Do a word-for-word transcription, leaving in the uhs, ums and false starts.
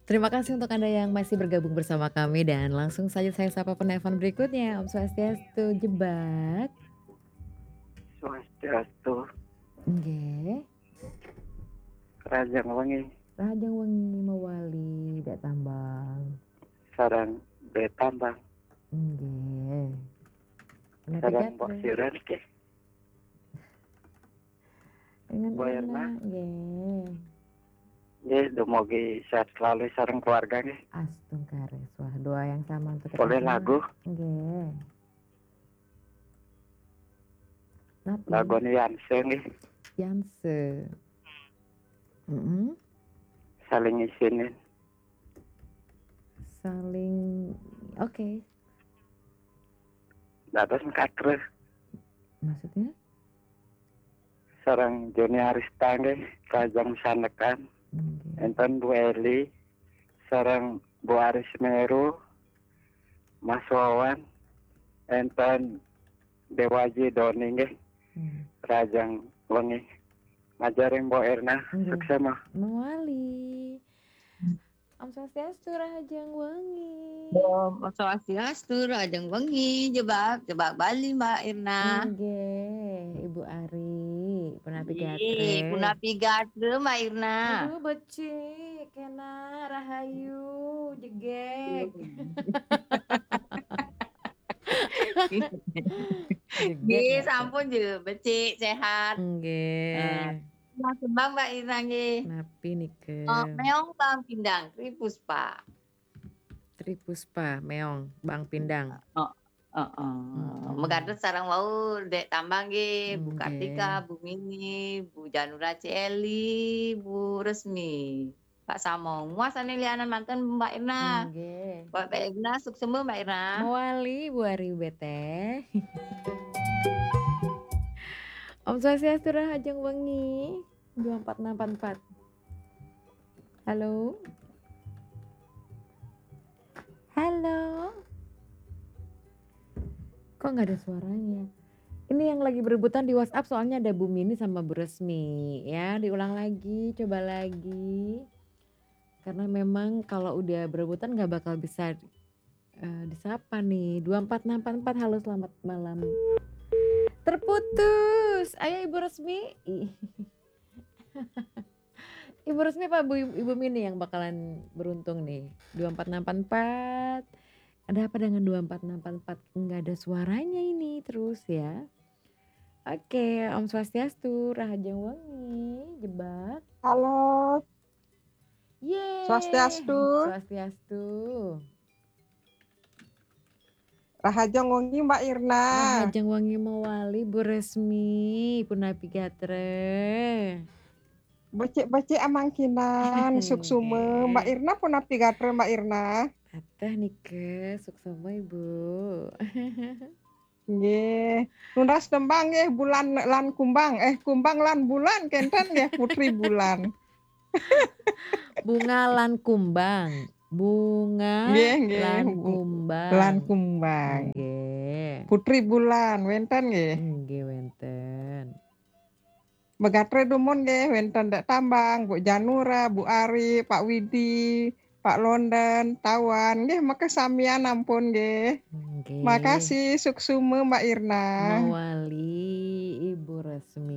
Terima kasih untuk Anda yang masih bergabung bersama kami dan langsung saja saya sapa penelpon berikutnya. Om Swastiastu, Jebak. Swastiastu. Nggih. Rahajeng wengi. Rahajeng wengi mawali Dek Tambang. Sareng Dek Tambang. Nggih. Sareng Mbok Siren nggih. Dengan Mbok Erna. Nggih. Nggih, dumugi sehat selalu sareng keluarga nggih. Astungkare. Wah, doa yang sama untuk kita Boleh semua. Lagu? Nggih. Napi? Lagune Yanse nggih. Yanse. Mm-mm. Saling isinin. Saling, oke. Dados mekater. Maksudnya? Sareng Joni Arista nggih, rahajeng sanekan. Nggih. Enten Bu Eli, sareng Bu Aris Meru, Mas Wawan, enten Dewaji Doni nggih, Hmm. rahajeng wengi. Majeng ring Mbok Erna, Nggih. Suksema. Mawali. Om Swastiastu, Rahajeng Wengi. Om Swastiastu, Rahajeng Wengi, Jebak, Jebak Bali, Mbak Irna. Nggih, Ibu Ari, punapi Nggih, gatre? Punapi gatre, Mbak Irna. Aduh, becik, kena rahayu, jegeg. Jegeg Nggih, ya, Cek? Sampun je, becik, sehat. Nggih. Eh, Mas Kembang, Mbak Irna, nggih. Napi nika? Oh, Meong Bang Pindang, Tri Puspa. Tri Puspa, Meong, Bang Pindang. Oh, oh, oh. Mm-mm. Megatet sareng wau Dek Tambang nggih, Bu Nggih. Kartika, Bu Mini, Bu Janura Celi, Bu Resmi. Pak Samong. Muasane lianan manten Mbak Irna. Nggih. Mbak Irna, suksema Mbak Irna. Mawali, Bu Ari Beteh. Om Swastiastu, Rahajeng Wengi. Dua empat enam empat empat. Halo? Halo? Kok nggak ada suaranya? Ini yang lagi berebutan di WhatsApp, soalnya ada Bu Mini sama Bu Resmi. Ya, diulang lagi, coba lagi. Karena memang kalau udah berebutan nggak bakal bisa, eh, disapa nih. Dua empat enam empat empat, halo, selamat malam. Terputus. Ayo, Ibu Resmi. Ih. Ibu Resmi apa Bu, Ibu Mini yang bakalan beruntung nih? Dua empat enam empat empat. Ada apa dengan dua empat enam empat empat? Nggak ada suaranya ini terus ya. Oke, Om Swastiastu, Rahajeng Wengi, Jebak. Halo, Yeay. Swastiastu. Swastiastu. Rahajeng Wengi Mbak Irna. Rahajeng Wengi mawali, Bu Resmi, punapi gatre? Becik-becik amangkinan, suksema. Nggih. Mbak Irna punapi gatre, Mbak Irna? Ateh nike, suksema, Ibu. Nggih. Nunas tembang nggih, Bulan lan Kumbang. Eh, Kumbang lan Bulan, kenten nggih, Putri Bulan. Bunga lan Kumbang. Bunga Nggih, nggih. lan Bu- Kumbang. Lan Kumbang. Nggih. Putri Bulan, wenten nggih. Nggih, wenten. Megatre dumun nggih, wenten Dek Tambang, Bu Janura, Bu Ari, Pak Widi, Pak London, Tawan, nggih, makasamian ampun nggih. Nggih. Makasih, suksema Mbak Irna. Mawali, Ibu Resmi.